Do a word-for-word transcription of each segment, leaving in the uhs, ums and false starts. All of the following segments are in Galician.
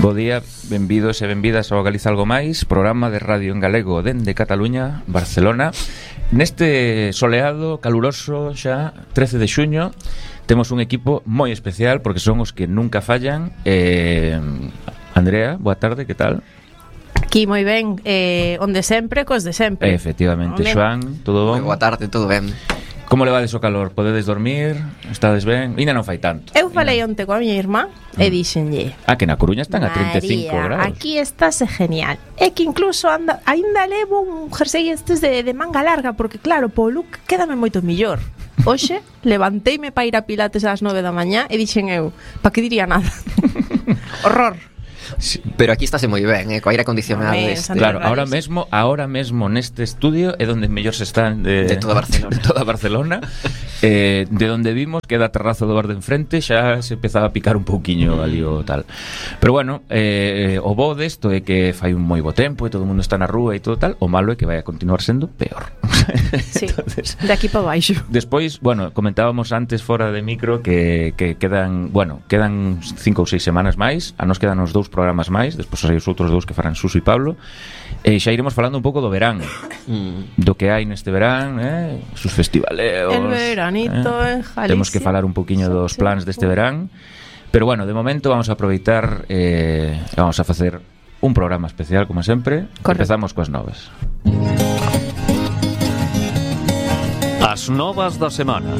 Bo día, benvidos e benvidas ao Galiza Algo Máis, programa de radio en galego dende Cataluña, Barcelona. Neste soleado, caluroso xa, trece de xuño, temos un equipo moi especial porque son os que nunca fallan. eh, Andrea, boa tarde, que tal? Aquí moi ben, eh, onde sempre, cos de sempre. Efectivamente, Onde? Xoan, todo bon? Boa tarde, todo ben. Como levades o calor? Podedes dormir? Estades ben? Ina non fai tanto. Eu falei onte coa miña irmá e dixenlle: Ah, que na Coruña están a trinta e cinco María, graus. aquí estás genial. É que incluso anda, ainda levo un jersey estes de, de manga larga, porque claro, po look quédame moito millor. Hoxe levanteime para ir a Pilates ás nove da mañá e dixen eu, pa que diría nada. Horror. Sí. Pero aquí estáse moi ben, eh, co aire acondicionado Amén, este, Santa Claro, ahora mesmo, ahora mesmo neste estudio é donde mellor se están de, De toda Barcelona. de toda Barcelona. eh, de donde vimos que da terrazo do bar de enfrente xa se empezaba a picar un pouquiño ali o tal. Pero bueno, eh, o bo desto é que fai un moi bo tempo e todo o mundo está na rúa e todo tal. O malo é que vai a continuar sendo peor. Sí, Entonces, de aquí para baixo. despois, bueno, comentábamos antes fora de micro que, que quedan, bueno, quedan cinco ou seis semanas máis. A nos quedan os dous programas máis, despois hai os outros dous que farán Suso e Pablo. E xa iremos falando un pouco do verán, mm. do que hai neste verán, eh? Sus festivaleos. El veranito en Galicia. Temos que falar un poquinho dos plans deste verán. Pero bueno, de momento vamos a aproveitar, eh, vamos a facer un programa especial, como sempre. Correcto. Empezamos coas novas. As novas da semana.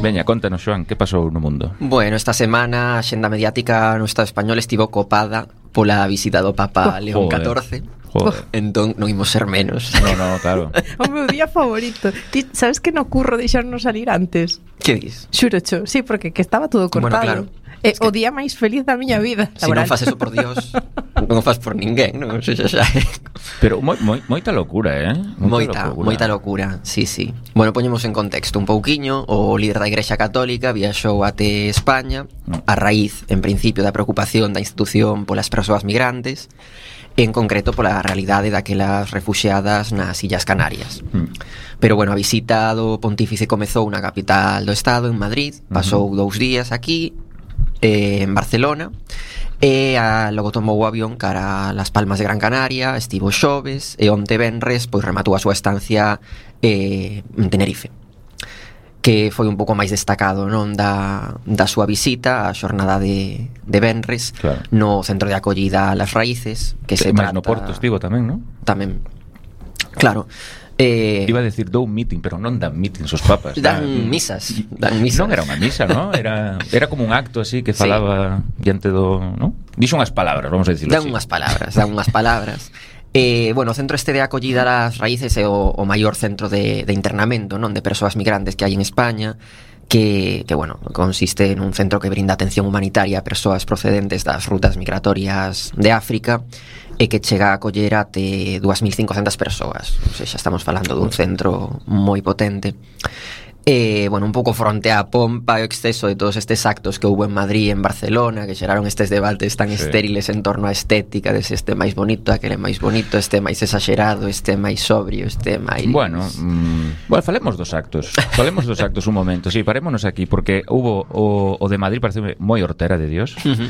Veña, contanos, Xoan, que pasou no mundo? Bueno, esta semana a xenda mediática no Estado español estivo copada pola visita do Papa León Joder. catorce. Joder. Entón non imos ser menos. No, no, claro. O meu día favorito. Ti sabes que no curro deixarnos salir antes? Que dis? Xuro cho, sí, porque que estaba todo Bueno, cortado. claro. É Es que- o día máis feliz da miña vida. Se non fas eso por Dios, non o fas por ninguén, non? Eso xa xa é. Pero moi, moi, moita locura, eh? Moita, moita locura, sí, sí. Bueno, poñemos en contexto un pouquiño. O líder da Igrexa Católica viaxou até España a raíz, en principio, da preocupación da institución polas persoas migrantes, en concreto pola realidade daquelas refuxiadas nas Illas Canarias. Mm. Pero bueno, a visita do pontífice comezou na capital do estado, en Madrid. Pasou Uh-huh. dous días aquí, eh, en Barcelona, e a, logo tomou o avión cara a Las Palmas de Gran Canaria. Estivo xoves e onte venres pois rematou a súa estancia eh, en Tenerife, que foi un pouco máis destacado, non, da, da súa visita, a xornada de, de venres, Claro. no centro de acollida Las Raíces, que se máis trata... no Porto estivo tamén, non? Tamén, claro. Eh, Iba a decir dou meeting, pero non dan meetings os papas. dan Dan- misas, dan misas. Non era unha misa, ¿no? Era, era como un acto así que Sí. falaba diante do, ¿no? Dixo unhas palabras, vamos a dicirlo Dan así. unhas palabras, dan unhas palabras. Eh, bueno, o centro este de acollida Las Raíces é o, o maior centro de, de internamento, non, de persoas migrantes que hai en España, que, que bueno, consiste en un centro que brinda atención humanitaria a persoas procedentes das rutas migratorias de África e que chega a acoller até dúas mil cincocentas persoas. O sea, xa estamos falando dun centro moi potente. E, bueno, un pouco fronte á pompa e o exceso de todos estes actos que houve en Madrid e en Barcelona, que xeraron estes debates tan Sí. estériles en torno á estética, de se este máis bonito, aquele máis bonito, este máis exagerado, este máis sobrio, este máis... Bueno, mm, bueno, falemos dos actos. Falemos dos actos un momento. Sí, parémonos aquí porque hubo o, o de Madrid parece moi hortera de Dios. Ujú.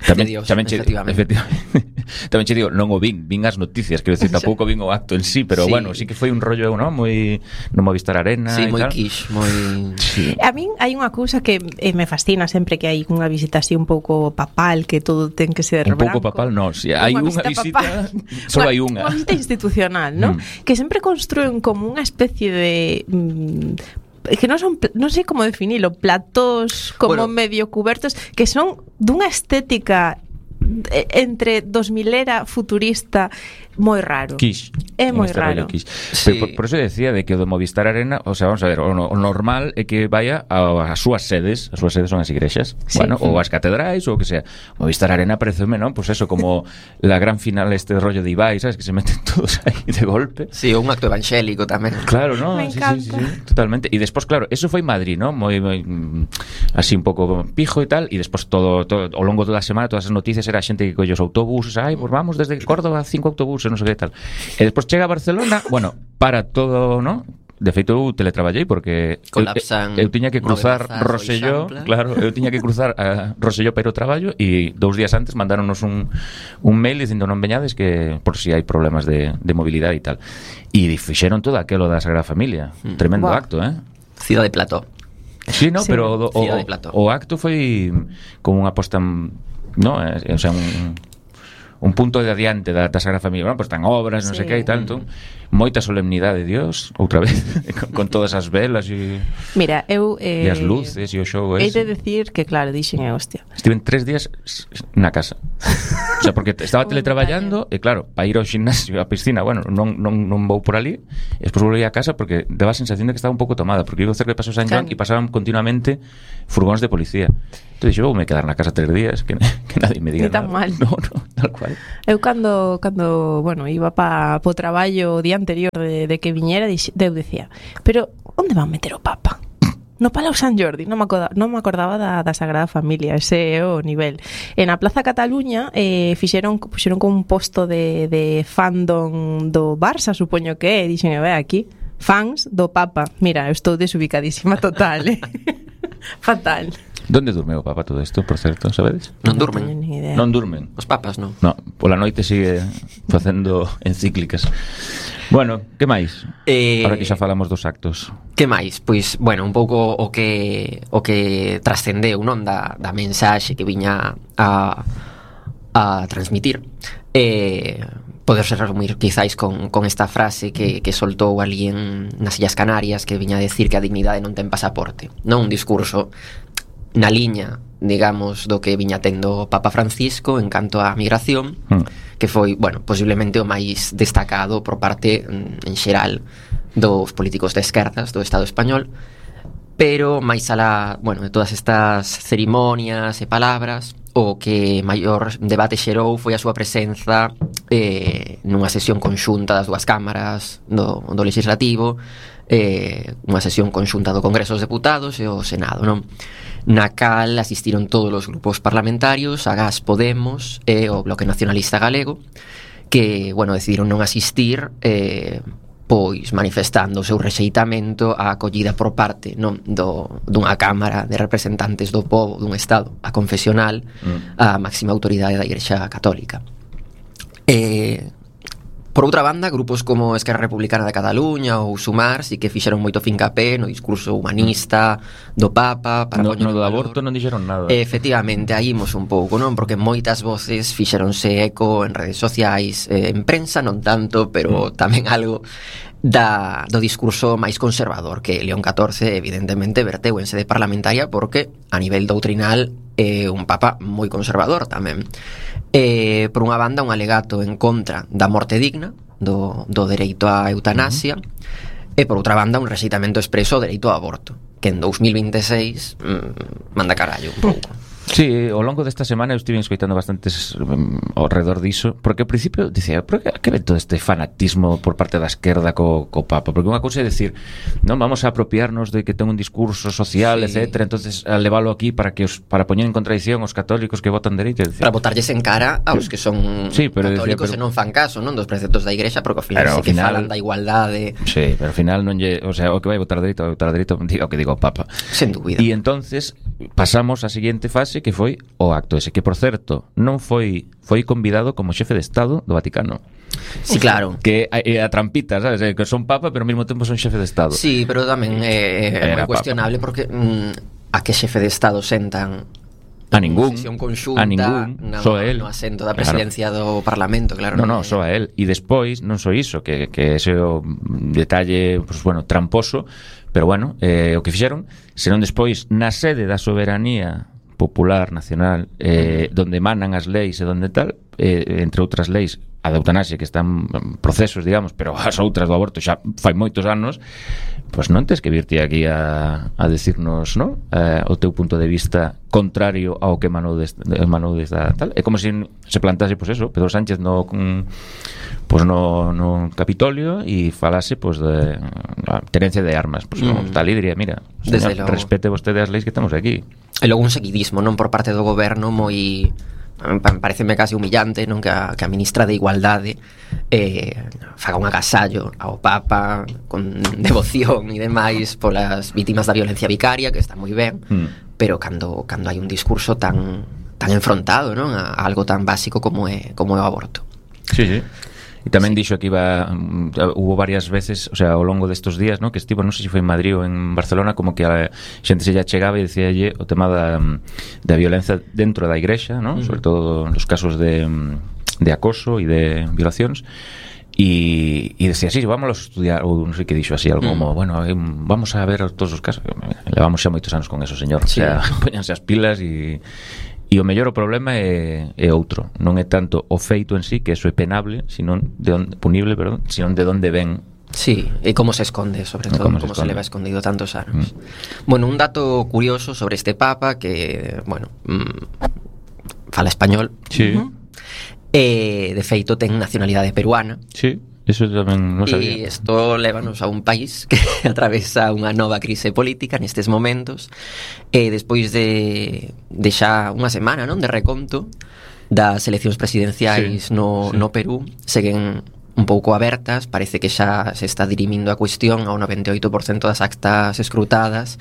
Tamén, De Dios, tamén che, efectivamente. efectivamente. Tamén che digo, non o vin, vin as noticias, quero decir, tampouco vin o acto en sí, pero Sí. bueno, sí que foi un rollo, ¿no? Moi no Movistar Arena Sí, e moi tal. quiche, moi... Sí. A min hai unha cousa que eh, me fascina sempre que hai unha visita así un pouco papal, que todo ten que ser Un pouco branco. papal, no, si hai unha visita, papal. só hai unha. Unha visita institucional, ¿no? Mm. Que sempre construen como unha especie de... Mm, que non son, pl- non sei como definilo, platós como Bueno. medio cubertos, que son dunha estética eh, entre dos milera futurista moi raro. Quiche. É En moi este raro. rollo quiche. Sí. Pero por, por eso decía de que o do Movistar Arena, o sea, vamos a ver, o, no- o normal é que vaya a- as súas sedes, as súas sedes son as igrexas, Sí. bueno, ou as catedrais ou o que sea. Movistar Arena pareceme, non? Pues eso, como la gran final este rollo de Ibai, sabes, que se meten todos aí de golpe. Sí, un acto evangélico tamén. Claro, ¿no? Me Sí, sí, sí, encanta. sí, totalmente. Y despois, claro, eso foi Madrid, ¿no? Moi, moi mm, así un pouco pijo e tal, e despois todo, todo ao longo toda a semana todas as noticias era a xente que colle os autobuses, ai, pues vamos desde Córdoba cinco autobuses, non sei que tal. E despois chega a Barcelona, bueno, para todo, ¿no? de feito eu teletraballei porque colapsan eu, eu tiña que cruzar Roselló, claro, eu tiña que cruzar a Roselló para ir ao traballo e dous días antes mandáronos un, un mail dicindo non veñades que por si hai problemas de, de mobilidade e tal. E fixeron todo aquelo da Sagrada Familia. Mm. Tremendo wow. acto, eh? Cidade de Plató. Sí, no, sí. Pero o, o, o acto foi como unha posta, no, o sea, un un punto de adiante da, da Sagrada Familia. Bueno, pues están obras, non sí. sei que e tal, entón, moita solemnidade de Dios, outra vez, con, con todas as velas e Mira, eu eh, e as luces e o show ese. Hei de decir que, claro, dixen, eh, hostia. Estiven tres días na casa. O sea, porque estaba teletraballando e claro, para ir ao gimnasio, á piscina, bueno, non, non, non vou por ali, e despois volví a casa porque daba a sensación de que estaba un pouco tomada, porque vivo cerca de Paso San Joan e pasaban continuamente furgóns de policía. Entón, dixo, vou me quedar na casa tres días, que, que nadie me diga nada. Ni tan mal. No, no, tal cual. Eu cando, cando bueno, iba pa, po traballo o día anterior de, de que viñera, dix, eu decía, pero onde van meter o Papa? No Palau San Jordi, non me acordaba, non me acordaba da, da Sagrada Familia, ese é o nivel. En a Plaza Cataluña eh, fixeron, puxeron como un posto de, de fandom do Barça, supoño que é, dixen, ve aquí, fans do Papa. Mira, eu estou desubicadísima total, eh? Fatal. Donde durme o Papa todo isto, por certo, sabedes? Non durmen. Non durmen. Os papas, non. No, pola noite sigue facendo encíclicas. Bueno, que máis? Eh, Ahora que xa falamos dos actos. Que máis? Pois, bueno, un pouco o que o que trascendeu, non, da, da mensaxe que viña a, a transmitir. Eh, poderse resumir quizáis con, con esta frase que, que soltou alguén nas Illas Canarias, que viña a decir que a dignidade non ten pasaporte. Non un discurso na liña, digamos, do que viña tendo o Papa Francisco en canto á migración, mm. que foi, bueno, posiblemente o máis destacado por parte, en xeral, dos políticos de esquerdas do Estado español, pero máis alá, bueno, de todas estas cerimonias e palabras, o que maior debate xerou foi a súa presenza eh, nunha sesión conxunta das dúas cámaras do, do Legislativo, eh, unha sesión conxunta do Congreso dos Deputados e o Senado, non? Na cal asistiron todos os grupos parlamentarios, Agás, Podemos e o Bloque Nacionalista Galego, que, bueno, decidiron non asistir, eh, pois manifestando o seu rexeitamento á acollida por parte, non, do, dunha Cámara de Representantes do Pobo dun Estado, a confesional, mm. a máxima autoridade da Igrexa Católica. Eh, Por outra banda, grupos como Esquerra Republicana de Cataluña ou Sumar si que fixeron moito fincapé no discurso humanista do Papa para no, no do aborto non dixeron nada. Efectivamente, aí imos un pouco, non? Porque moitas voces fixeronse eco en redes sociais, eh, en prensa non tanto, pero mm. tamén algo da, do discurso máis conservador que León catorce evidentemente verteu en sede parlamentaria, porque a nivel doutrinal é un papa moi conservador tamén. Eh, por unha banda, un alegato en contra da morte digna, do, do dereito á eutanasia, uh-huh. e por outra banda un rexeitamento expreso ao dereito ao aborto, que en dous mil veintiséis mmm, manda carallo un pouco. Sí, ao longo desta semana eu estive escoitando bastantes um, ao redor diso, porque ao principio dicía, por que, que ve todo este fanatismo por parte da esquerda co, co Papa? Porque unha cousa é decir, non vamos a apropiarnos de que ten un discurso social, sí. etcétera, entonces a leválo aquí para que os, para poñer en contradición os católicos que votan dereito, decir, para botarlles en cara aos que son sí, pero católicos decía, pero, e non fan caso, non, dos preceptos da Igrexa, porque ao final se que final, falan da igualdade. Sí, pero ao final non lle, o sea, o que vai votar dereito, vai votar dereito, diga o que diga o Papa. Sen dúbida. E entonces pasamos á seguinte fase, que foi o acto ese, que por certo non foi foi convidado como xefe de Estado do Vaticano. Sí, claro. Que é a trampita, sabes? Que son papa, pero ao mesmo tempo son xefe de Estado. Sí, pero tamén é, é moi cuestionable papa. Porque mm, a que xefe de Estado sentan a ningún, conxunta, a ningún, no, só a él. No asento da presidencia claro. Do Parlamento, claro. No, no, só a él. E despois, non só iso, que, que ese o detalle, pues, bueno, tramposo, pero bueno, eh, o que fixeron, senón despois, na sede da soberanía popular, nacional, eh, donde emanan as leis e donde tal, eh, entre outras leis, a da eutanasia, que están en procesos, digamos, pero as outras do aborto xa fai moitos anos, pois non tes que virte aquí a, a decirnos, no? Eh, o teu punto de vista contrario ao que emanou desta, emanou desta tal. É como se se plantase, pois eso, Pedro Sánchez no pois no, no Capitolio e falase pois de a tenencia de armas, pois mm. tal e diría, mira, señor, respete vostede as leis que temos aquí. E logo un seguidismo, non, por parte do goberno moi pareceme casi humillante, non, que a, que a ministra de Igualdade eh, faga un agasallo ao Papa con devoción e demais polas vítimas da violencia vicaria, que está moi ben, mm. pero cando cando hai un discurso tan tan enfrontado, non, a, a algo tan básico como é como é o aborto. Sí, sí. E tamén sí. dixo que iba um, hubo varias veces, o sea, ao longo destos días, ¿no? Que estivo, non sei se foi en Madrid ou en Barcelona, como que a xente se lla chegaba e dicíalle o tema da, da violencia dentro da igrexa, ¿no? Uh-huh. Sobre todo nos casos de, de acoso e de violacións. E, e decía, sí, vamos a estudiar, ou non sei que dixo así, algo como, bueno, vamos a ver todos os casos. Levamos xa moitos anos con eso, señor. Sí. O sea, póñanse as pilas e... E o mellor o problema é, é outro. Non é tanto o feito en sí, que eso é penable, sino de onde, punible, perdón, sino de onde ven. Sí, e como se esconde, sobre todo, como, como se, se leva escondido tantos anos. Mm. Bueno, un dato curioso sobre este Papa, que, bueno, mmm, fala español. Sí. Uh-huh. E, de feito, ten nacionalidade peruana. Sí. Eso tamén non sabía. E isto lévanos a un país que atravesa unha nova crise política nestes momentos, e despois de, de xa unha semana, non, de reconto das eleccións presidenciais sí, no, sí. no Perú, seguen un pouco abertas. Parece que xa se está dirimindo a cuestión ao noventa e oito por cento das actas escrutadas.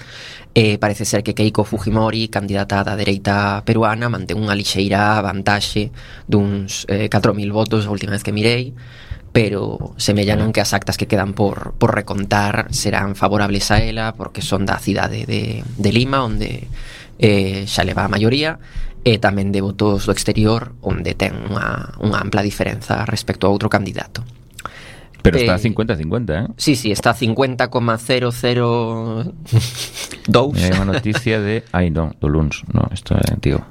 E parece ser que Keiko Fujimori, candidata da dereita peruana, mantén unha lixeira vantaxe duns eh, catro mil votos a última vez que mirei, pero semella non que as actas que quedan por, por recontar serán favorables a ela, porque son da cidade de, de Lima, onde eh, xa leva a maioría, e tamén de votos do exterior, onde ten unha, unha ampla diferenza respecto a outro candidato. Pero está a cincuenta a cincuenta, eh? Sí, sí, está a cincuenta coma cero cero dous. Hai unha noticia de... Ai, non, do luns, non, isto é antigo.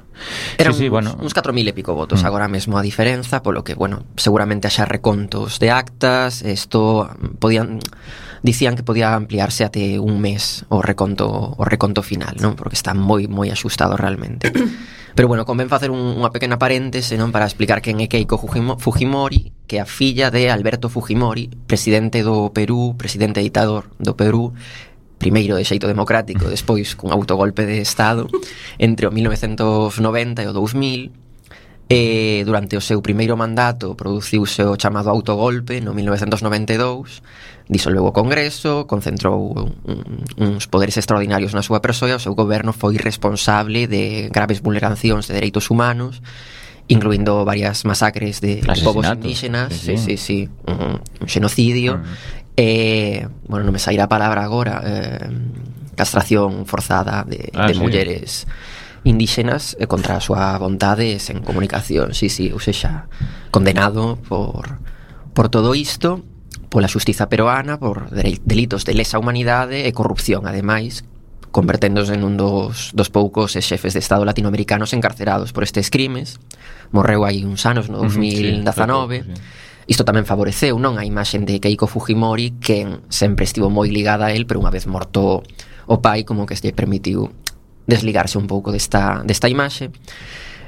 Eran sí, sí, uns, bueno. uns catro mil e pico votos mm. agora mesmo a diferenza, polo que, bueno, seguramente haxa recontos de actas. Isto podían dicían que podía ampliarse até un mes o reconto o reconto final, non? Porque está moi moi axustado realmente. Pero bueno, convén facer un, unha pequena paréntese, non, para explicar quen é Keiko Fujimori, que é a filla de Alberto Fujimori, presidente do Perú, presidente ditador do Perú, primeiro de xeito democrático, despois cun autogolpe de Estado entre o mil novecentos noventa e o dous mil. E durante o seu primeiro mandato produciuse o chamado autogolpe no mil novecentos noventa e dous, disolveu o Congreso, concentrou un, uns poderes extraordinarios na súa persoa, e o seu goberno foi responsable de graves vulneracións de dereitos humanos, incluindo varias masacres de povos indígenas, sí, sí, sí, sí, un, un xenocidio. Uh-huh. Eh, bueno, non me sairá a palabra agora, eh, castración forzada de, ah, de sí. mulleres indígenas eh, contra a súa vontade sen comunicación, sí, sí, ou sexa, condenado por, por todo isto, pola xustiza peruana, por delitos de lesa humanidade e corrupción, ademais, converténdose en un dos, dos poucos xefes de Estado latinoamericanos encarcerados por estes crimes. Morreu hai uns anos, no dos mil dezanove. Uh-huh, sí, sí. Isto tamén favoreceu, non, a imaxe de Keiko Fujimori, que sempre estivo moi ligada a él, pero unha vez morto o pai, como que se permitiu desligarse un pouco desta, desta imaxe.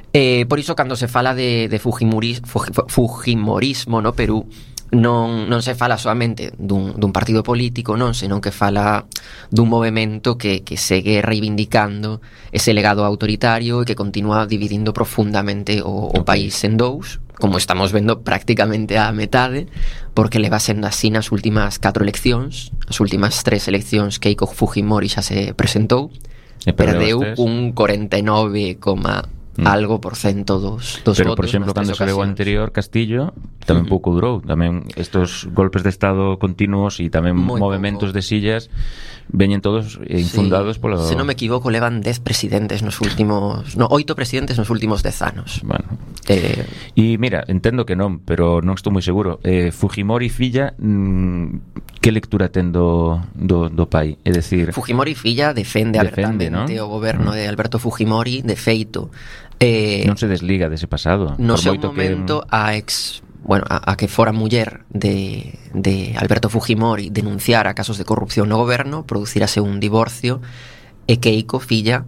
Eh, por iso, cando se fala de, de Fujimoris, Fujimorismo no Perú, non, non se fala solamente dun, dun partido político, non, senón que fala dun movimento que, que segue reivindicando ese legado autoritario e que continúa dividindo profundamente o, o país en dous, como estamos vendo prácticamente a metade, porque leva sendo así nas últimas catro eleccións. As últimas tres eleccións Keiko Fujimori xa se presentou, e perdeu un cuarenta e nove, mm. algo por cento dos, dos pero, votos. Pero, por exemplo, cando se levou anterior Castillo, tamén uh-huh. pouco durou. Tamén estos golpes de Estado continuos e tamén Muy movimentos pouco. de sillas veñen todos infundados sí. polo... Se non me equivoco, levan dez presidentes nos últimos... No, oito presidentes nos últimos dez anos. Bueno. Eh... E mira, entendo que non, pero non estou moi seguro. Eh, Fujimori filla, mmm, que lectura ten do, do, do pai? É dicir... Fujimori filla defende, defende abertamente, ¿no? O goberno de Alberto Fujimori, de feito. Eh, non se desliga dese pasado. No seu momento, que... a ex... Bueno, a, a que fora muller de, de Alberto Fujimori denunciara casos de corrupción no goberno, producirase un divorcio, e Keiko, filla,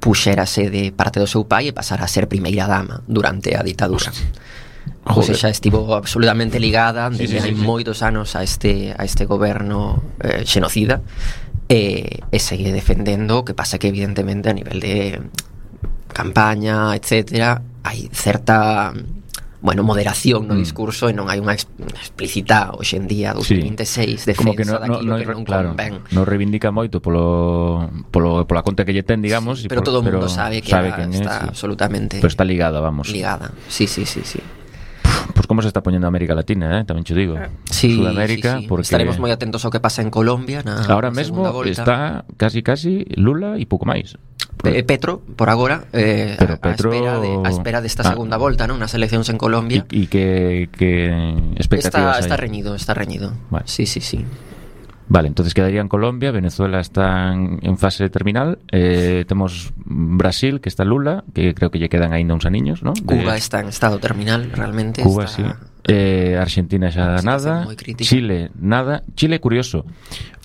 puxérase de parte do seu pai e pasara a ser primeira dama durante a ditadura. Ou seja, estivo absolutamente ligada desde sí, sí, hai sí, moitos anos a este, a este goberno eh, xenocida, e, e segue defendendo, o que pasa que evidentemente a nivel de campaña, etcétera, hai certa, bueno, moderación no Mm. discurso e non hai unha ex- explícita hoxe en día dos mil veintiséis defensa como que no, no, daquilo no, que non claro, convén. non reivindica moito polo, polo, pola conta que lle ten, digamos, Sí, e pero por- todo o mundo sabe que sabe ela quen está é, sí. absolutamente Pero está ligada, vamos. ligada. Sí, sí, sí, sí. Pues como se está poñendo América Latina, eh? Tamén che digo. Sí, Sudamérica, sí, sí. porque Estaremos moi atentos ao que pasa en Colombia na, ahora na mesmo segunda volta. está casi casi Lula e pouco máis. Eh, Petro, por agora, eh, Pero a, Petro- a espera de, a espera desta Ah. segunda volta, non? Nas eleccións en Colombia. E que, que expectativas Está, está hai? reñido, está reñido. Vale. Sí, sí, sí. Vale, entonces quedaría en Colombia, Venezuela está en, en fase terminal, eh, temos Brasil, que está Lula, que creo que lle quedan aínda uns aniños, ¿no? De- Cuba está en estado terminal, realmente. Cuba, está... sí. Eh, Argentina xa Una situación nada, moi crítica. Chile nada. Chile, curioso,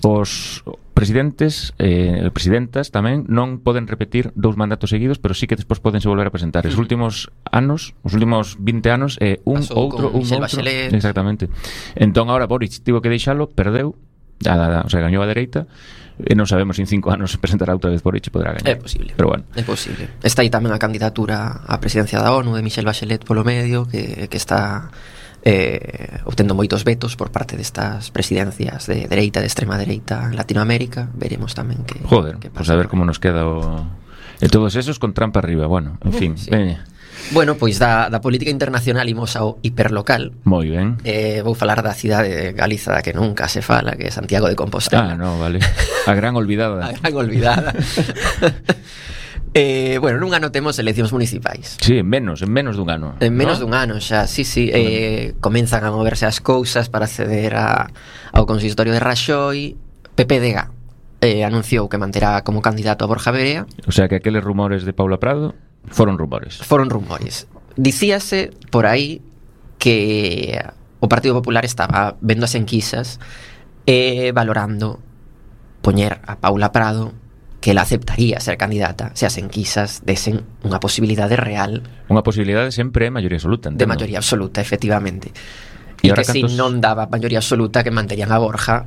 os presidentes eh, presidentas tamén non poden repetir dous mandatos seguidos, pero sí que despois podense volver a presentar. Os Ujú. últimos anos, os últimos vinte anos, eh, un Pasou outro, con un Michelle outro. Bachelet. Exactamente. Entón agora Boric tivo que deixalo, perdeu, a, a, o sea, gañou a dereita, e non sabemos se en cinco anos se presentará outra vez Boric e poderá gañar. É posible. Pero bueno. É posible. Está aí tamén a candidatura á presidencia da ONU de Michelle Bachelet polo medio, que, que está eh, obtendo moitos vetos por parte destas presidencias de dereita, de extrema dereita en Latinoamérica. Veremos tamén que Joder, que pues pasa a ver por aí. como nos queda o... E todos esos con trampa arriba, bueno, en fin, sí. veña. Bueno, pois da, da política internacional imos ao hiperlocal. Moi ben. Eh, vou falar da cidade de Galiza da que nunca se fala, que é Santiago de Compostela. Ah, no, vale. A gran olvidada. A gran olvidada. eh, bueno, nun ano temos eleccións municipais. Sí, en menos, en menos dun ano. En menos ¿no? dun ano xa, sí, sí, eh, comenzan a moverse as cousas para acceder a, ao consistorio de Raxoi. P P D G eh, anunciou que manterá como candidato a Borja Verea. O sea que aqueles rumores de Paula Prado foron rumores. Foron rumores. Dicíase por aí que o Partido Popular estaba vendo as enquisas e valorando poñer a Paula Prado, que ela aceptaría ser candidata se as enquisas desen unha posibilidade real Unha posibilidade sempre é maioría absoluta, de entendo. maioría absoluta, efectivamente. E E ahora que se cantos- non daba maioría absoluta, que manterían a Borja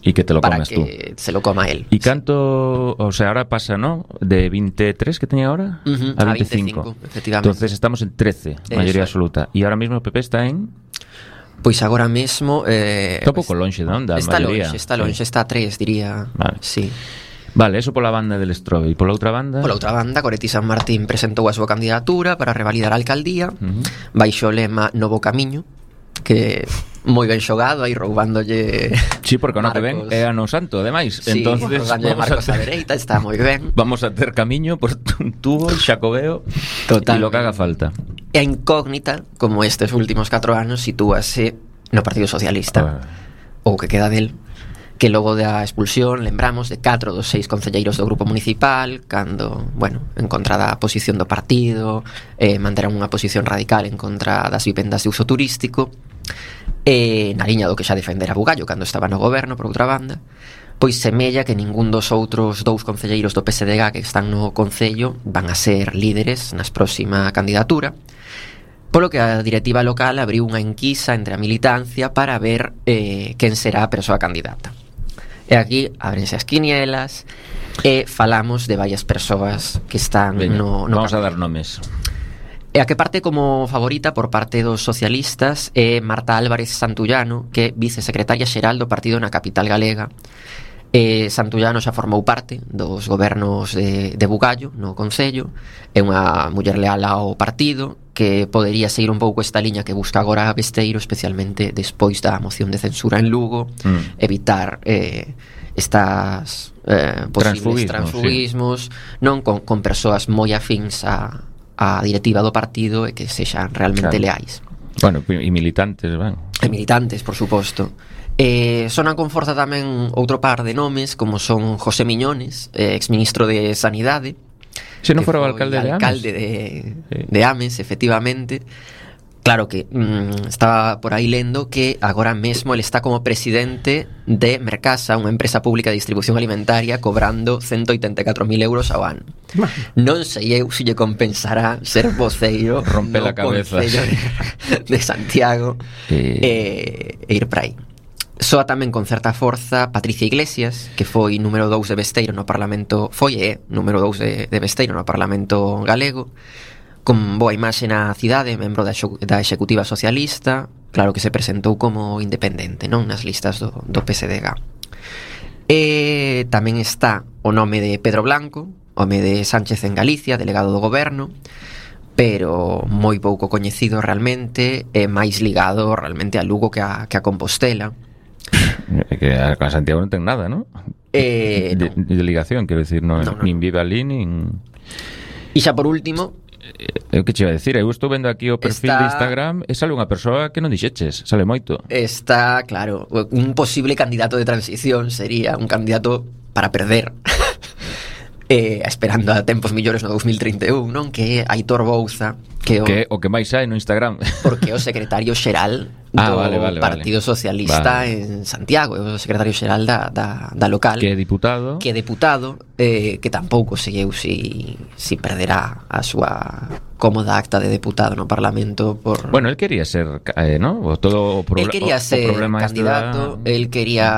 E que te lo para comes tú. que se lo coma él. E canto, o sea, ahora pasa, ¿no? De veintitrés que tenía ahora Ujú, a a veinticinco. veinticinco, efectivamente. Entonces estamos en trece, mayoría Eso é. absoluta. E ahora mismo o P P está en... Pois agora mesmo eh, Está un pouco lonxe, non? Da está maioría. lonxe, está lonxe, Sí. está a tres, diría. Vale. Sí. Vale, eso pola banda del Strobe. E pola outra banda... Pola outra banda, Goretti San Martín presentou a súa candidatura para revalidar a alcaldía, Ujú. baixo o lema Novo Camiño, que moi ben xogado, aí roubándolle Sí, porque o ano que ven Marcos. é ano santo, ademais. Sí, Entonces, roubándolle vamos Marcos a a ter, dereita, está moi ben. vamos a ter camiño por un tubo, xacobeo Total. e lo que haga falta. E a incógnita, como estes últimos catro anos, sitúase no Partido Socialista, ou que queda del, que logo da expulsión, lembramos, de catro dos seis concelleiros do grupo municipal, cando, bueno, en contra da posición do partido, eh, manterán unha posición radical en contra das vivendas de uso turístico, e na liña do que xa defendera Bugallo cando estaba no goberno, por outra banda, pois semella que ningún dos outros dous concelleiros do P S D G que están no concello van a ser líderes nas próxima candidatura, polo que a directiva local abriu unha enquisa entre a militancia para ver eh, quen será a persoa candidata. E aquí abrense as quinielas e falamos de varias persoas que están Veña, no, no vamos a dar cartel. nomes. E a que parte como favorita por parte dos socialistas é Marta Álvarez Santullano, que é vicesecretaria xeral do partido na capital galega. E Santullano xa formou parte dos gobernos de, de Bugallo no Concello, é unha muller leal ao partido que podería seguir un pouco esta liña que busca agora Besteiro, especialmente despois da moción de censura en Lugo, Mm. evitar eh, estas eh, posibles Transfuguismos, transfuguismos, non con, con persoas moi afíns a, a directiva do partido e que sexan realmente Claro. leais. Bueno, e militantes, van. E militantes, por suposto. Eh, sonan con forza tamén outro par de nomes, como son José Miñones, eh, exministro de Sanidade. Se non que fora o foi alcalde de Ames. alcalde de, Sí. de Ames, efectivamente. Claro que mm, estaba por aí lendo que agora mesmo ele está como presidente de Mercasa, unha empresa pública de distribución alimentaria, cobrando ciento oitenta e catro mil euros ao ano. Non sei eu se lle compensará ser voceiro Rompe no la cabeza. Concello de, de Santiago Eh, e, e ir para aí. Soa tamén con certa forza Patricia Iglesias, que foi número dous de Besteiro no Parlamento, foi e é número dous de, de Besteiro no Parlamento galego, con boa imaxe na cidade, membro da, xo, da Executiva Socialista, claro que se presentou como independente, non, nas listas do, do P S D G. E tamén está o nome de Pedro Blanco, home de Sánchez en Galicia, delegado do goberno, pero moi pouco coñecido realmente, e máis ligado realmente a Lugo que a, que a Compostela. Que a Santiago non ten nada, non? Eh, de, non. de ligación, quero dicir, non, No, no, nin no. vive ali, nin... E xa por último, Eu que che iba a decir, eu estou vendo aquí o perfil Está- de Instagram e sale unha persoa que non dixeches, sale moito. está, claro, un posible candidato de transición sería un candidato para perder. eh, esperando a tempos millores no dous mil trinta e un, non? Que é Aitor Bouza, que o, Que o que máis hai no Instagram. porque é o secretario xeral do Ah, vale, vale, Partido vale. Socialista Vale. en Santiago, é o secretario xeral da, da, da local, Que é diputado. que é deputado, eh, que tampouco seguiu si, si perderá a súa cómoda acta de deputado no Parlamento por... Bueno, él quería ser, eh, ¿no? O todo o, Él proble- quería o, ser o problema este candidato, da... él quería